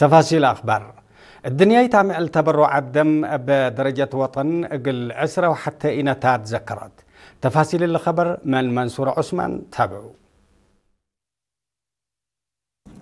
تفاصيل أخبار. الدنيا تعمل تبرع الدم بدرجة وطن قل عسرة وحتى إنتات ذكرت. تفاصيل الخبر من منصور عثمان، تابعوا.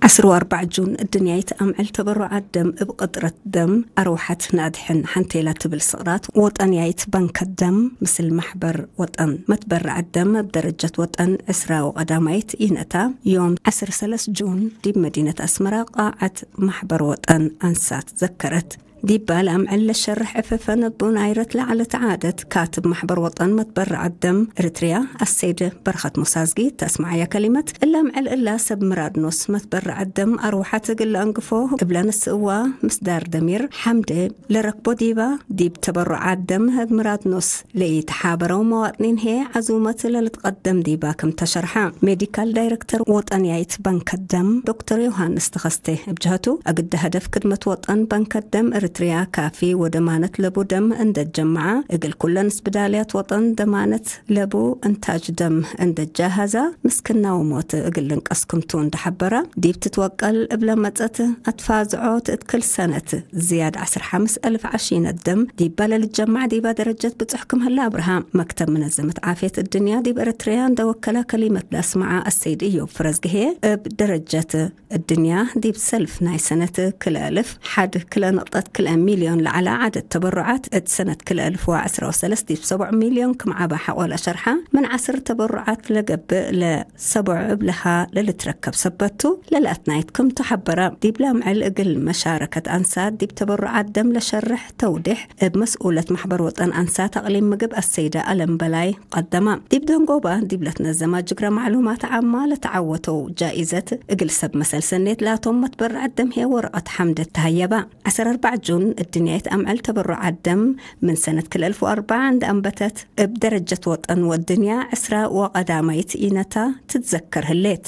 ዓሰርተ ኣርባዕተ ጁን እድንያይት ኣምዕል ተበሩዓት ደም እብ ቅጥረት ደም ኣርውሓት ንኣድሕን ሓንቴላ ትብል ስቕራት ወጠንያይት ባንከት ደም ምስል ማሕበር ወጠን መትበርዓት ደም እብ ደረጀት ወጠን ዕስራ ወቐዳማይት ኢነታ ዮም ዓሰርተ ሰለስተ ጁን ዲብ መዲነት ኣስመራ ቃዓት ማሕበር ወጠን ኣንሳት ዘከረት። ዲባ ለኣምዕል ለሸርሕ ዕፈፈን እቡ ናይረት ለዓለት ዓደት ካትብ ማሕበር ወጠን መትበርዓት ደም እርትርያ ኣሰይድ በረኸት ሞሳዝጊ ተስማዓያ ከሊመት እላምዕል እላ ሰብ ምራድ ኖስ መትበርዓት ደም ኣርውሓት እግል ለኣንግፎ እብላ ንስእዋ ምስዳር ደሚር ሓምደ ለረክቦ ዲባ ዲብ ተበሩዓት ደም እብ ምራድ ኖስ ለኢተሓበረው መዋጥኒን ሄ ዓዙመት ለልትቀደም ዲባ ከም ተሸርሓ ሜዲካል ዳይረክተር ወጠንያይት ባንከት ደም ዶክተር ዮሃንስ ተኸስተ እብ ጀህቱ ኣግደ ሀደፍ ክድመት ወጠን ባንከት ደም እርትርያ ካፊ ወደማነት ለቡ ደም እንደጀመዓ እግል ኩለን ስብዳልያት ወጠን ደማነት ለቡ እንታጅ ደም እንደጃሃዛ ምስክናዊ ሞት እግል ልንቀስ ክምቱ እንደሓበራ ዲብ ትትወቀል እብለ መጸት ኣትፋዝዖ ትእትክል ሰነት ዝያድ ዓሰርተ ሓምስ ኣልፍ ዓሺነት ደም ዲባ ለልጀማዕ ዲባ ደረጀት ብጽሕ ክምህላ ኣብርሃ መክተብ መነዘመት ዓፍየት እድንያ ዲብ እርትርያ እንደወከላ ከሊመት ላስማዓ ኣሰይድ እዮብ ፍረዝግሄ እብ ደረጀት እድንያ ዲብ ሰልፍ ናይ ሰነት ክልአልፍ ሓድ ክልአ ነቕጠት ክልአ ሚልዮን ለዓላ ዓደድ ተበሩዓት እት ሰነት ክልአልፍ ወ ዕስራ ወሰለስት ዲብ ሰብዑ ሚልዮን ክምዓባ ሓቆላ ሸርሓ ምን ዓስር ተበሩዓት ለገብእ ለሰብዑ እብልሃ ለልትረከብ ሰበቱ ለልኣትናይት ክምቱ ሓበራ። ዲብ ላምዕል እግል መሻረከት ኣንሳት ዲብ ተበሩዓት ደም ለሸርሕ ተውዲሕ እብ መስኡለት ማሕበር ወጠን ኣንሳት ኣቕሊም ምግብ ኣሰይዳ ኣለም በላይ ቀደማ። ዲብ ደንጎባ ዲብ ለትነዘማ ጅግረ ማዕሉማት ዓማ ለተዓወተው ጃኢዘት እግል ሰብ መሰል ሰኔት ላቶም መትበርዐት ደምሄ ወረቐት ሓምደት ተሃየባ። ዓሰርተ ኣርባዕ ጁን እድንያይት ኣምዕል ተበሩዓት ደም ምን ሰነት ክልተ ኣልፍ ወኣርባዓ እንደ ኣንበተት እብ ደረጀት ወጠን ወድንያ ዕስራ ወቐዳማይት ኢነታ ትትዘከር ህሌት።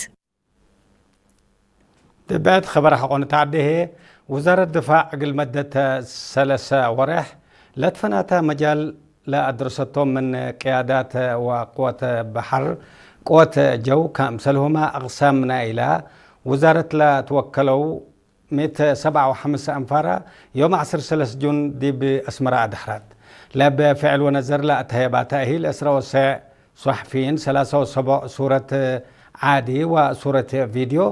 ድብዕት ኸበር ሐቆን ተዓደሄ፣ ውዛረት ድፋዕ እግል መደተ ሰለሰ ወሬሕ ለትፈናተ መጃል ለአድርሰቶም ምን ቅያዳት ወቅወት በሐር፣ ቅወት ጀው፣ ከምሰልሁማ አቅሳም ናይላ ውዛረት ለትወከለው ሚእት ሰብዓ ወሐምሳ አንፋራ ዮም ዐስር ሰለስ ጁን ዲብ አስመራ አድሐረት። ለብ ፍዕል ወነዘር ለአተሀየባ ተእሂል ዕስራ ወሰዕ ሶሕፊይን፣ ሰላሳ ወሰቦዕ ሱረት ዓዲ ወሱረት ቪድዮ፣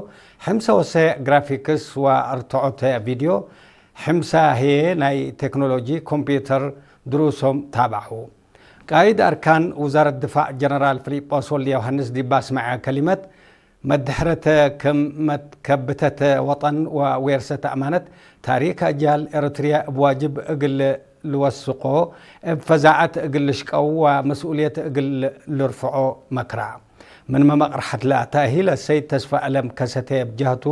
ሕምሳ ወሰዕ ግራፊክስ ወአርትዖት ቪድዮ፣ ሕምሳ ህዬ ናይ ቴክኖሎጂ ኮምፒዩተር ድሩሶም ታብዐው። ቃይድ አርካን ውዛረት ድፋዕ ጀነራል ፊሊጶስ ወልደዮሃንስ ዲብ አስመዐ ከሊመት፣ መድሕረት ከም መትከብተት ወጠን ወዌርሰት አማነት ታሪክ አጃል ኤረትርያ እብ ዋጅብ እግል ልወስቆ፣ እብ ፈዛዐት እግል ልሽቀው ወመስኡልየት እግል ልርፍዖ መክራ። ምን መመቅርሐት ለተእሂል አሰይድ ተስፋ አለም ከሰቴ ብጀህቱ፣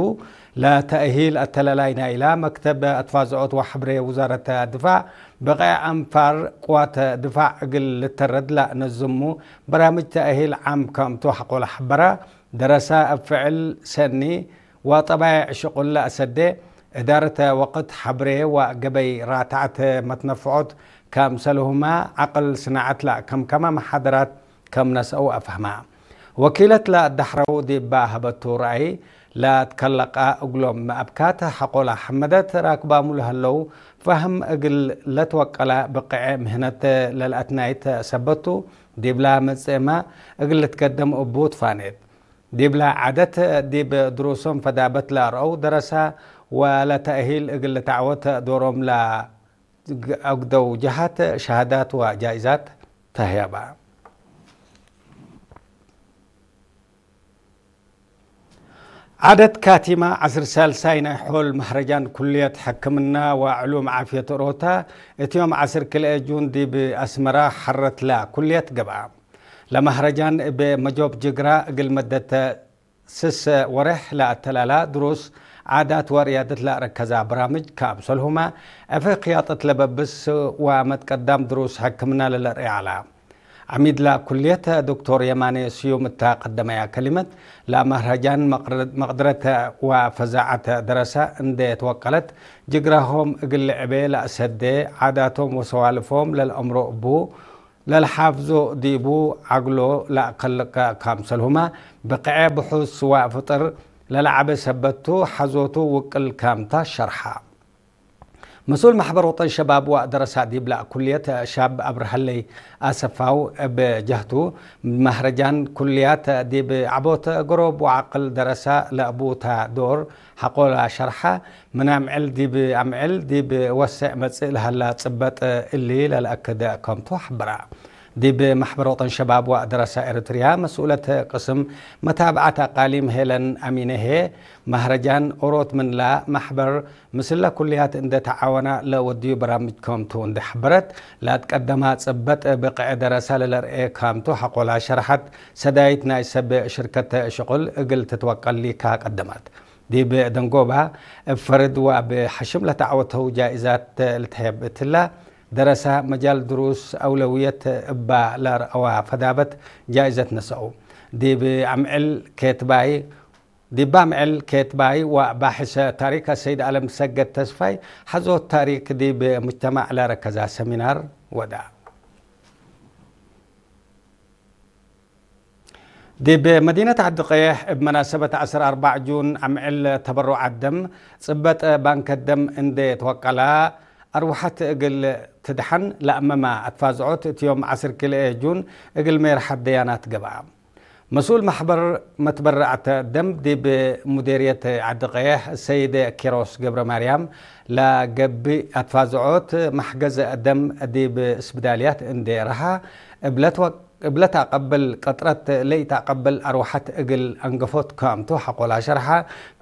ለተእሂል አተላላይ ናይላ መክተብ አትፋዝዖት ወሐብሬ ውዛረት ድፋዕ፣ ብቀዕ አንፋር ቅዋት ድፋዕ እግል ልተረድ ለነዝሙ በራምጅ ተእሂል ዓም ከምቱ ሐቆለ ሐበራ። ደረሳ እብ ፍዕል ሰኒ ወጠባይዕ ሽቁል ለአሰዴ፣ እዳረተ ወቅት ሐብሬ ወገበይ ራትዐት መትነፍዖት ከምሰልሁማ ዐቅል ስናዐት ለአከምከመ መሓደራት ከም ነስአው አፍሀማ። ወኪለት ለአዳሕረው ዲባ ሀበቱ ረአይ ለትከለቀ እግሎም አብካት ሐቆላ ሐመደት ራክባሙ ለሀለው ፈህም እግል ለትወቀላ ብቅዐ ምህነት ለልአትናይት ሰበቱ ዲብላ መጽእማ እግል ልትገደም እቡ ትፋኔት። ዲብላ ዓደት ዲብ ድሩሶም ፈዳበት ለአርአው ደረሳ ወለተእሂል እግል ልትዓወት ዶሮም ለአግደው ጀሃት ሸሃዳት ወጃኢዛት ተህያባ። ዓደት ካቲማ ዐስር ሳልሳይ ናይ ሖል መህረጃን ኩልየት ሕክምና ወዕሉም ዓፍየት ኦሮታ እት ዮም ዐስር ክልኤ ጁን ዲብ አስመራ ሐረትላ ኩልየት ገብአ። ለመህረጃን እብ መጆብ ጅግራ እግል መደተ ስሰ ወሬሕ ለአተላላ ድሩስ ዓዳት ወርያደት ለአረከዛ በራምጅ ከአምሰልሁማ ዕፌ ክያጠት ለበብስ ወመትቀዳም ድሩስ ሕክምና ለለርኤ ዐላ። ዐሚድላ ኩልየት ዶክቶር የማኔ ስዩም እታ ቀደመያ ከሊመት፣ ለመህረጃን መቅድረት ወፈዛዐት ደረሰ እንዴ ትወቀለት፣ ጅግራሆም እግል ልዕቤ ለአሰዴ፣ ዓዳቶም ወሰዋልፎም ለልአምሮ እቡ ለልሓፍዞ ዲቡ ዐግሎ ለአከልቀ ካምሰልሁመ፣ ብቅዔ ብሑስ ወፍጥር ለለዓበ ሰበቱ ሓዞቱ ውቅል ካምታ ሸርሓ። መስኡል ማሕበር ወጠን ሸባብ ዋእ ደረሳ ዲብላ ኩልየት ሻብ ኣብርሃለይ ኣሰፋው ብጃህቱ ማህረጃን ኩልያት ዲብ ዓቦት ገሮብ ወዓቅል ደረሳ ለእቡታ ዶር ሓቆላ ሸርሓ ምናምዕል ዲብ ኣምዕል ዲብ ወሰዕ መጽእ ለሃላ ጽበጥ እሊ ለለኣክደ ከምቱ ሓበራ። ዲብ ማሕበር ወጠን ሸባብ ዋእ ደረሳ ኤርትርያ መስኡለት ቅስም መታብዓት ኣቃሊም ሄለን ኣሚነሄ ማህረጃን ኦሮት ምንላ ማሕበር ምስለ ኩልያት እንደ ተዓወና ለወድዩ በራምጅ ከምቱ እንደ ሓበረት ላትቀደማ ጽበጥ ብቅዕ ደረሳ ለለርኤ ካምቱ ሓቆላ ሸርሓት ሰዳይት ናይ ሰብ ሽርከት ሽቁል እግል ትትወቀል ሊካ ቀደማት። ዲብ ደንጎባ እብ ፈርድ ወእብ ሓሽም ለተዓወተው ጃኢዛት ልትሄብ እትላ ደረሳ መጃል ድሩስ ኣውለውየት እባ ለርአዋ ፈዳበት ጃኢዘት ነሰኡ። ዲብ ኣምዕል ኬትባይ ዲብ ኣምዕል ኬትባይ ወባሕሰ ታሪክ ሰይድ ኣለም ሰገድ ተስፋይ ሓዞት ታሪክ ዲብ ሙጅተማዕ ለረከዛ ሰሚናር ወዳ። ዲብ መዲነት ዓዲ ቀይሕ እብ መናሰበት ዓሰርተ ኣርባዕ ጁን ኣምዕል ተበሩዓት ደም ጽበጥ ባንከት ደም እንዴ ተወቀላ ኣርዋሓት እግል ትድሓን ለኣመማ ኣትፋዝዖት እትዮም ዓሰርተ ክልኤ ጁን እግል ሜርሓት ደያናት ገብኣ። መስኡል ማሕበር መትበረዕተ ደም ዲብ ሙዴርየት ዓዲ ቀይሕ ሰይድ ኪሮስ ገብረ ማርያም ለገብእ ኣትፋዝዖት ማሕገዘ ደም ዲብ ስብዳልያት እንዴ ረሃ እብለት ወ- እብለት ኣቀብል ቀጥረት ለይት ኣቀብል ኣርዋሓት እግል ኣንገፎት ካምቱ ሓቆላ ሸርሓ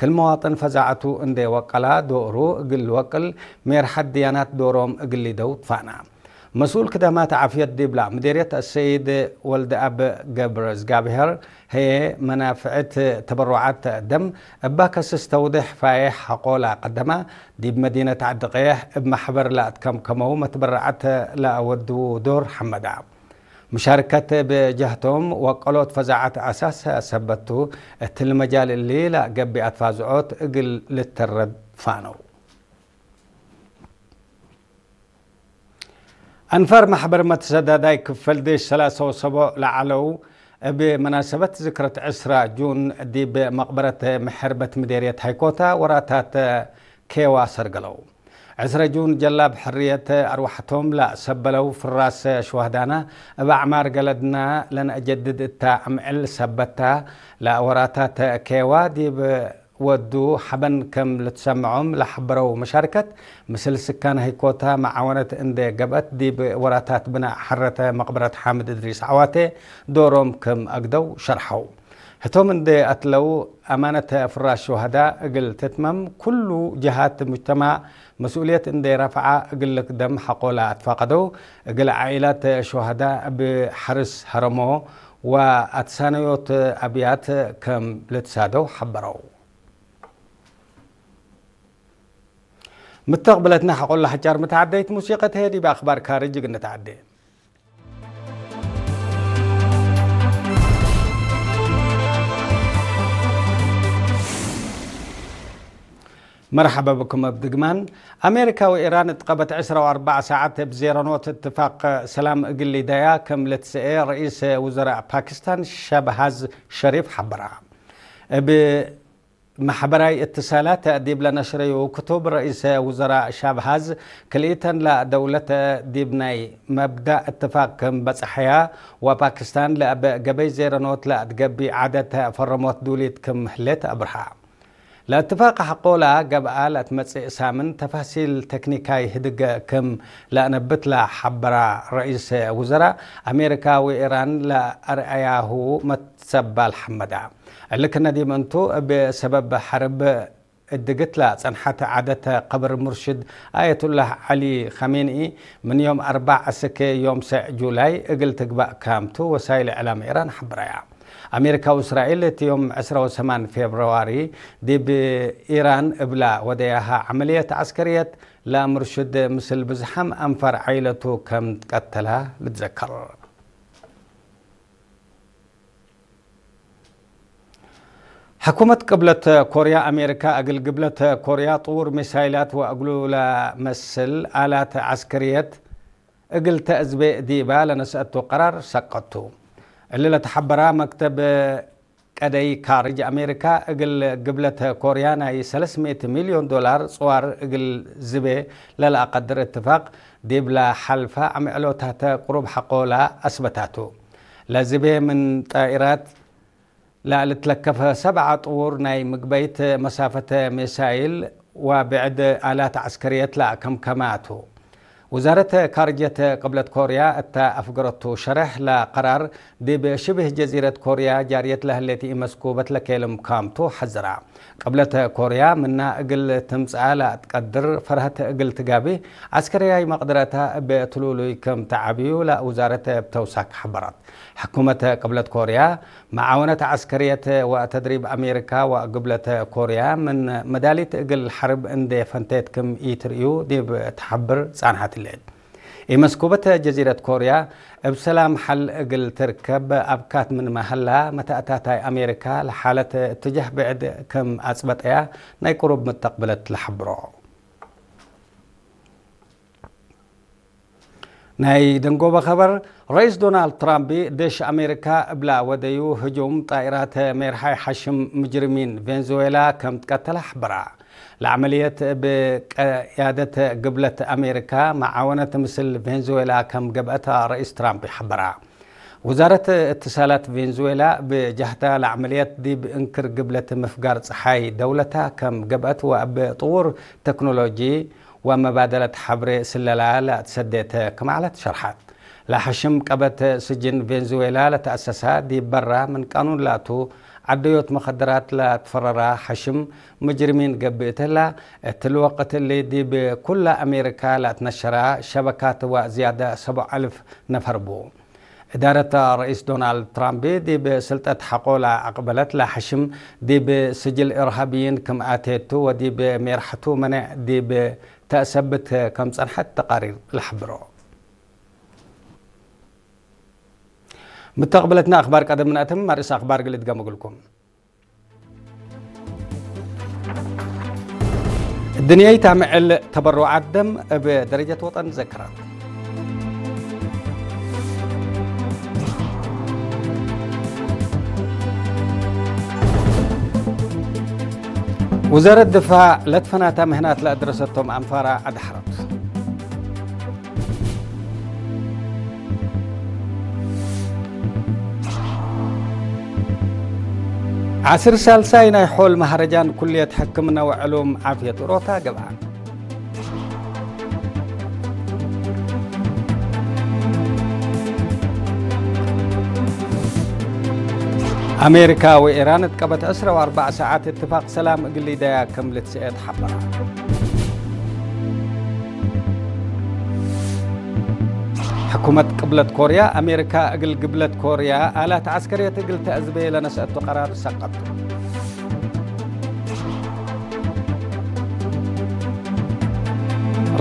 ክል መዋጥን ፈዛዕቱ እንደ ወቀላ ዶሩ እግል ወቅል ሜርሓት ድያናት ዶሮም እግል ሊደው ትፋና። መስኡል ክደማት ዓፍየት ዲብላ ምዴርየት ሰይድ ወልደ ኣብ ገብረ ዝጋብሔር ሀየ መናፍዕት ተበሩዓት ደም እባ ከስስ ተውድሕ ፋየሕ ሓቆላ ቀደማ ዲብ መዲነት ዓዲ ቀየሕ እብ ማሕበር ላእትከምከመው መትበረዓት ለኣወድዉ ዶር ሓመዳ። ምሻርከት ብጀህቶም ወቀሎት ፈዛዓት ኣሳስ ሰበቱ እትል መጃል እሊ ለገቢ ኣትፋዝዖት እግል ልተረድ ፋነው። ኣንፋር ማሕበር መተሰዳዳይ ክፈል ድሽ ሰላሳ ወሰቦ ለዓለው እብ መናሰበት ዝክረት ዕስራ ጁን ዲብ መቕበረት ምሕርበት ምዴርየት ሃይኮታ ወራታት ኬዋ ሰርገለው። ዕስረ ጁን ጀላብ ሕርየት ኣርዋሕቶም ላሰበለው ፍራስ ሽዋህዳና እብ ኣዕማር ገለድና ለነአጀድድ እታ ኣምዕል ሰበታ ለወራታት ኬዋ ዲብ ወዱ ሓበን ከም ልትሰምዖም ለሓበረው መሻርከት፣ ምስል ስካን ህይኮታ መዓወነት እንደ ገብአት ዲብ ወራታት ብናእ ሐረተ መቅበረት ሓምድ እድሪስ ዓዋቴ ዶሮም ከም አግደው ሸርሐው። ህቶም እንደ አትለው አማነት ፍራሽ ሹሃዳ እግል ትትመም ኩሉ ጀሃት ሙጅተማዕ መስኡልየት እንደ ረፍዓ እግል ልክደም ሐቆላ አትፋቀደው። እግል ዓኢላት ሹሃዳ እብ ሐርስ ሀረሞ ወአትሳነዮት አብያት ከም ልትሳደው ሐበረው። ምተቕብለትና ሓቆላ ሓጫር ምተዓደይት ሙሲቀት ሄዲ ብኣኽባር ካርጅ ግንተዓደ። መርሓባ ብኩም ኣብ ድግማን። ኣሜሪካ ወኢራን እትቐበት ዕስራ ወኣርባዓ ሰዓት ብ ዜሮ ኖት እትፋቕ ሰላም እግል ሊዳያ ከም ለትስኤ ርኢስ ውዘራእ ፓኪስታን ሻብሃዝ ሸሪፍ ሓበራ። እብ ማሕበራይ እትሳላት ዲብ ለነሽረዩ ክቱብ፣ ረኢሰ ውዘራእ ሻብሃዝ ክልኢተን ለደውለት ዲብ ናይ መብዳእ እትፋቅ ክም በጽሐያ፣ ወፓኪስታን ለእበ ገበይ ዜረኖት ለእትገቢ ዓደት ፈረሞት ዱሊት ክም ህሌት አብርሃ። ለእትፋቅ ሐቆላ ገብአ ለእትመጽእ ሳምን ተፋሲል ተክኒካይ ህድገ ክም ለእነብት ለሐበራ ረኢሰ ውዘራእ አሜሪካ ወኢራን ለአርአያሁ መትሰባል ሐመዳ። እሊ ክነዲም እንቱ፣ እብ ሰበብ ሐርብ እድግት ለጸንሐት ዓደት ቀብር ሙርሽድ አየቱላህ ዐሊ ኸሜንኢ ምን ዮም አርባዕ እስክ ዮም ሰዕ ጁላይ እግል ትግባእ ካምቱ ወሳይል እዕላም ኢራን ሐብረያ። አሜሪካ ወእስራኤል እቲ ዮም ዕስራ ወሰማን ፌብርዋሪ ዲብ ኢራን እብላ ወደያሃ ዐመልየት ዐስከርየት ለሙርሽድ ምስል ብዝሓም አንፋር ዓይለቱ ከም ትቀተላ ልትዘከር። ሕኩመት ቅብለት ኮርያ ኣሜሪካ እግል ግብለት ኮርያ ጥውር ሚሳይላት ወእግሉ ለመስል ኣላት ዐስከርየት እግል ተእዝቤ ዲባ ለነስአቱ ቀራር ሰቀቱ። እሊ ለተሐበራ መክተብ ቀደይ ካርጅ ኣሜሪካ እግል ግብለተ ኮርያ ናይ ሰለስት ሚእቲ ሚልዮን ዶላር ጽዋር እግል ዝቤ ለለኣቀድር እትፋቅ ዲብላ ሓልፋ ኣምዕሎታተ ቁሩብ ሓቆላ ኣስበታቱ። ለዝቤ ምን ጣኢራት ላልትለከፈ ሰብዓ ጥውር ናይ ምግበይት መሳፈተ ሜሳይል ወብዕድ ኣላት ዓስከርየት ላከምከማቱ። ውዛረት ካርጀት ቅብለት ኮርያ እታ ኣፍገረቱ ሸረሕ ላቀራር ዲብ ሽብህ ጀዚረት ኮርያ ጃርየት ለህሌት ኢመስኩ በትለኬልም ካምቱ ሐዝራ። ቅብለት ኮርያ ምና እግል ትምጽኣ ላትቀድር ፈርሀት እግል ትጋቢ ዓስከርያይ መቅድረታ እብ ትሉሉይ ከም ተዓብዩ ላውዛረት ብተውሳክ ሐበራት። ሕኩመት ቅብለት ኮርያ መዓወነት ዓስከርየት ወተድሪብ ኣሜሪካ ወግብለት ኮርያ ምን መዳሊት እግል ሐርብ እንዴ ፈንቴት ክም ኢትርእዩ ዲብ ተሐብር ጻንሐት ሌት። ኢመስኩበት ጀዚረት ኮርያ እብ ሰላም ሐል እግል ትርከብ ኣብካት ምን መሀላ መታእታታይ ኣሜሪካ ለሓለት እትጃህ ብዕድ ክም ኣጽበጠያ ናይ ቅሩብ ምተቅብለት ለሐብሮ። ናይ ደንጎበ ኸበር፣ ረኢስ ዶናልድ ትራምፕ ደሽ ኣሜሪካ እብላ ወደዩ ህጁም ጣኢራት ሜርሓይ ሓሽም ምጅርሚን ቬንዙዌላ ከም ትቀተለ ሓበራ። ለዓመልየት ብቀያደት ግብለት ኣሜሪካ መዓወነት ምስል ቬንዙዌላ ከም ገብአታ ረኢስ ትራምፕ ይሓበራ። ውዛረት እትሳላት ቬንዙዌላ ብጃህታ ለዓመልየት ዲብ እንክር ግብለት ምፍጋር ፀሓይ ደውለታ ከም ገብአት ወአብ ጥውር ተክኖሎጂ ወመባደለት ሐብሬ ስለላ ለትሰዴተ ክማዕለት ሸርሓት። ለሐሽም ቀበት ስጅን ቬንዙዌላ ለተአሰሳ ዲብ በራ ምን ቃኑን ላቱ ዓደዮት መኸደራት ለትፈረራ ሐሽም ምጅርሚን ገብእተላ፣ እትል ወቅት እሊ ዲብ ኩላ አሜሪካ ለትነሸራ ሸበካት ወዝያዳ ሰብዓ አልፍ ነፈር ቡ። እዳረት ረኢስ ዶናልድ ትራምፕ ዲብ ስልጠት ሐቆላ አቅበለት ለሐሽም ዲብ ስጅል ኢርሃብይን ክም አቴቱ ወዲብ ሜርሐቱ መኔዕ ዲብ ተእሰብት ከም ጸንሐት ተቃሪር ለሐብሮ። ምተቅብለትና አኽባር ቀደም ንአትም ማርእስ አኽባር ግልት ገመግልኩም። الدنيا تعمل تبرعات دم بدرجة وطن ذكرت. وزارة الدفاع لتفناتا مهنات لأدرستهم أنفارا أدحرت. ዓስር ሳልሳይ ናይ ሖል መሃረጃን ኩልየት ሕክምና ወዕሉም ዓፍየት ሮታ ገብኣ። ኣሜሪካ ወኢራን እትቀበት ዕስራ ወኣርባዕ ሰዓት እትፋቅ ሰላም እግል ሊዳያ ከም ልትስኤ ተሓበራ። ሕኩመት ቅብለት ኮርያ፣ ኣሜሪካ እግል ግብለት ኮርያ ኣላት ዓስከርየት እግል ተእዝበየ ለነስአቶ ቀራር ሰቀጡ።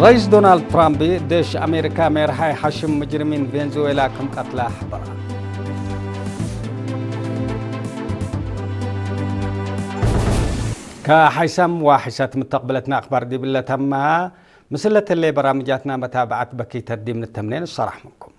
ረይስ ዶናልድ ትራምፕ ደሽ ኣሜሪካ ሜርሓይ ሓሽም ምጅርሚን ቬንዙዌላ ከም ቀትላ ሓበራ። ከሓይሳም ዋሒሳት ምተቕብለትና ኣኽባር ዲብለተማ ምስለተሌ በራምጃትና መታብዓት በኪተት ዲም ንተምኔን ሰራሕ ምንኩም።